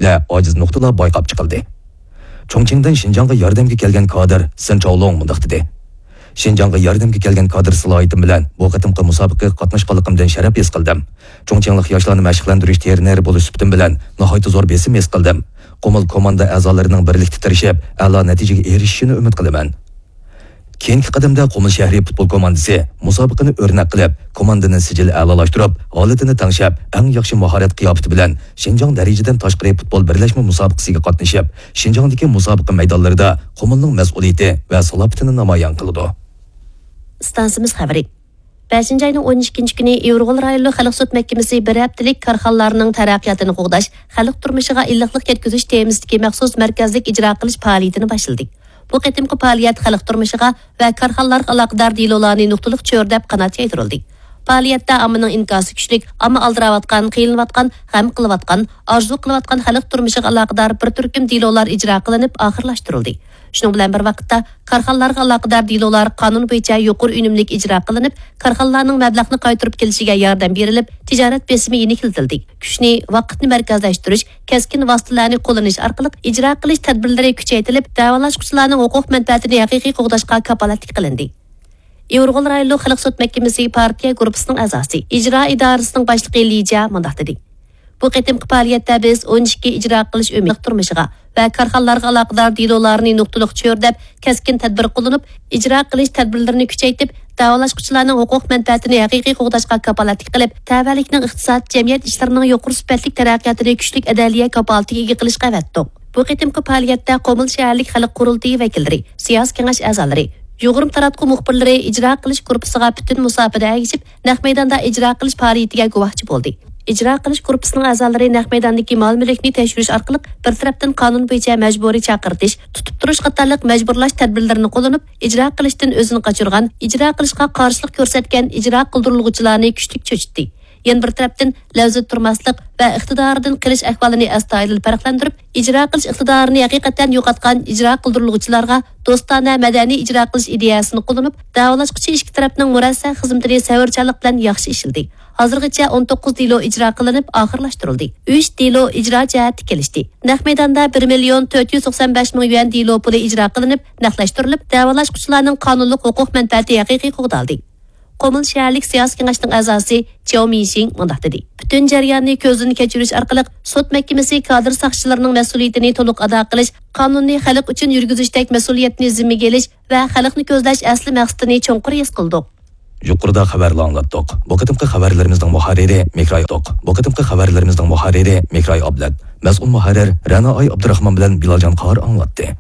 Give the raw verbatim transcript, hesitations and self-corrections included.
ئاجىز نۇقتىلار بايقاپ چىقىلدى. چۇڭچىڭدىن شىنجاڭغا ياردەمگە كەلگەن كادىر سېن چاۋلۇڭ مۇنداق دېدى: شىنجاڭغا ياردەمگە كەلگەن كادىر سالاھىيىتىم بىلەن بۇ قېتىمقى مۇسابىقىگە قاتناشقانلىقىمدىن شەرەپ ھېس قىلدىم. چۇڭچىڭلىق ياشلارنى مەشىقلەندۈرۈش ترېنېرى بولۇش سۈپىتىم بىلەن ناھايىتى زور بېسىم ھېس قىلدىم. قۇمۇل كوماندا ئەزالىرىنىڭ بىرلىكتە تىرىشىپ، ئەلا نەتىجىگە ئېرىشىشىنى ئۈمىد قىلىمەن. كېيىنكى قەدەمدە قۇمۇل شەھىرى پۇتبول كوماندىسى مۇسابىقىنى ئۆرنەك قىلىپ، كوماندىنى سىجىل ئەلالاشتۇرۇپ، ھالىتىنى تەڭشەپ، ئەڭ ياخشى ماھارەت قىياپىتى بىلەن شىنجاڭ دەرىجىدىن تاشقىرى پۇتبول بىرلەشمە مۇسابىقىسىگە قاتنىشىپ، شىنجاڭدىكى مۇسابىقە مەيدانلىرىدا قۇمۇلنىڭ مەسئۇلىيىتى ۋە سالاپىتىنى نامايان قىلىدۇ. ئىستانسىمىز خەۋىرى. بەشىنچى ئاينىڭ ئون ئىككىنچى كۈنى ئىۋىرغول رايونلۇق خەلق سوت مەھكىمىسى بىر ھەپتىلىك كارخانىلارنىڭ تەرەققىياتىنى قوغداش، خەلق تۇرمۇشىغا ئىللىقلىق يەتكۈزۈش تېمىسىدىكى مەخسۇس مەركەزلىك ئىجرا قىلىش پائالىيىتىنى باشلىدى. بۇ قېتىمقى پائالىيەت خەلق تۇرمۇشىغا ۋە كارخانىلارغا ئالاقىدار دېلولارنى نۇقتىلىق چۆرىدەپ قانات يايدۇرۇلدى. پائالىيەتتە ئاممىنىڭ ئىنكاسى كۈچلۈك، ئامما ئالدىراۋاتقان، قىينىلىۋاتقان، غەم قىلىۋاتقان، ئارزۇ قىلىۋاتقان خەلق تۇرمۇشىغا ئالاقىدار بىر تۈركۈم دېلولار ئىجرا قىلىنىپ ئاخىرلاشتۇرۇلدى. شۇنىڭ بىلەن بىر ۋاقىتتا، كارخانىلارغا ئالاقىدار دېلولار قانۇن بويىچە يۇقىرى ئۈنۈملۈك ئىجرا قىلىنىپ، كارخانىلارنىڭ مەبلەغنى قايتۇرۇپ كېلىشىگە ياردەم بېرىلىپ، تىجارەت بېسىمى يېنىكلىتىلدى. كۈچنى، ۋاقىتنى مەركەزلەشتۈرۈش، كەسكىن ۋاسىتىلەرنى قوللىنىش ئارقىلىق ئىجرا قىلىش تەدبىرلىرى كۈچەيتىلىپ، دەۋالاشقۇچىلارنىڭ ھوقۇق مەنپەئەتىنى ھەقىقىي قوغداشقا كاپالەتلىك قىلىندى. ئىۋىرغول رايونلۇق خەلق سوت مەھكىمىسى پارتىيە گۇرۇپپىسىنىڭ ئەزاسى، ئىجرا ئىدارىسىنىڭ باشلىقى لى جيا مۇنداق دېدى: بۇ قېتىمقى پائالىيەتتە بىز ئون ئىككى ئىجرا قىلىش ئۆمىكى تۇرمۇشىغا ۋە كارخانىلارغا ئالاقىدار دېلولارنى نۇقتىلىق چۆرىدەپ، كەسكىن تەدبىر قوللىنىپ، ئىجرا قىلىش تەدبىرلىرىنى كۈچەيتىپ، دەۋالاشقۇچىلارنىڭ ھوقۇق مەنپەئەتىنى ھەقىقىي قوغداشقا كاپالەتلىك قىلىپ، تەۋەلىكنىڭ ئىقتىساد، جەمئىيەت ئىشلىرىنىڭ يۇقىرى سۈپەتلىك تەرەققىياتىنى كۈچلۈك ئەدلىيە كاپالىتىگە ئىگە قىلىشقا ئەۋەتتۇق. بۇ قېتىمقى پائالىيەتتە قۇمۇل شەھەرلىك خەلق قۇرۇلتىيى ۋەكىللىرى، سىياسىي كېڭەش ئەزالىرى، يۇغۇرما تاراتقۇ مۇخبىرلىرى ئىجرا قىلىش گۇرۇپپىسىغا پۈتۈن مۇساپىدە ئەگىشىپ، نەق مەيداندا ئىجرا قىلىش پائالىيىتىگە گۇۋاھچى بولدى. ئىجرا قىلىش گۇرۇپپىسىنىڭ ئەزالىرى نەق مەيداندىكى مال-مۈلۈكنى تەكشۈرۈش ئارقىلىق بىر تەرەپتىن قانۇن بويىچە مەجبۇرىي چاقىرتىش، تۇتۇپ تۇرۇش قاتارلىق مەجبۇرلاش تەدبىرلىرىنى قوللىنىپ، ئىجرا قىلىشتىن ئۆزىنى قاچۇرغان، ئىجرا قىلىشقا قارشىلىق كۆرسەتكەن ئىجرا قىلدۇرۇلغۇچىلارنى كۈچلۈك چۆچۈتتى. يەنە بىر تەرەپتىن، لەۋزىدە تۇرماسلىق ۋە ئىقتىدارىدىن قېلىش ئەھۋالىنى ئەستايىدىل پەرقلەندۈرۈپ، ئىجرا قىلىش ئىقتىدارىنى ھەقىقەتەن يوقاتقان ئىجرا قىلدۇرۇلغۇچىلارغا دوستانە مەدەنىي ئىجرا قىلىش ئىدىيەسىنى قوللىنىپ، دەۋالاشقۇچى ئىككى تەرەپنىڭ مۇرەسسە خىزمىتىنى سەۋرچانلىق بىلەن ياخشى ئىشلىدى. ھازىرغىچە ئون توققۇز دېلو ئىجرا قىلىنىپ ئاخىرلاشتۇرۇلدى. ئۈچ دېلو ئىجرا جەھەتتە كېلىشتى. نەق مەيداندا بىر مىليون تۆت يۈز توقسان بەش مىڭ يۈەن دېلو پۇلى ئىجرا قىلىنىپ، نەقلەشتۈرۈلۈپ، دەۋالاشقۇچىلارنىڭ قانۇنلۇق ھوقۇق مەنپەئەتى ھەقىقىي قوغدالدى. قۇمۇل شەھەرلىك سىياسىي كېڭەشنىڭ ئەزاسى چياۋ مىنشىڭ مۇنداق دېدى: پۈتۈن جەرياننى كۆزدىن كەچۈرۈش ئارقىلىق سوت مەھكىمىسى كادىر ساقچىلىرىنىڭ مەسئۇلىيىتىنى تولۇق ئادا قىلىش، قانۇننى خەلق ئۈچۈن يۈرگۈزۈشتەك مەسئۇلىيەتنى زىممىگە ئېلىش ۋە خەلقنى كۆزلەش ئەسلى مەقسىتىنى چوڭقۇر ھېس قىلدۇق. يۇقىرىدا خەۋەرلەر ئاڭلاتتۇق. بۇ قېتىمقى خەۋەرلىرىمىزنىڭ مۇھەررىرى مىكراي توق. بۇ قېتىمقى خەۋەرلىرىمىزنىڭ مۇھەررىرى مىكراي ئابلەت. مەسئۇل مۇھەررىر رەنا ئاي ئابدۇراخمان بىلەن بىلالجان قار ئاڭلاتتى.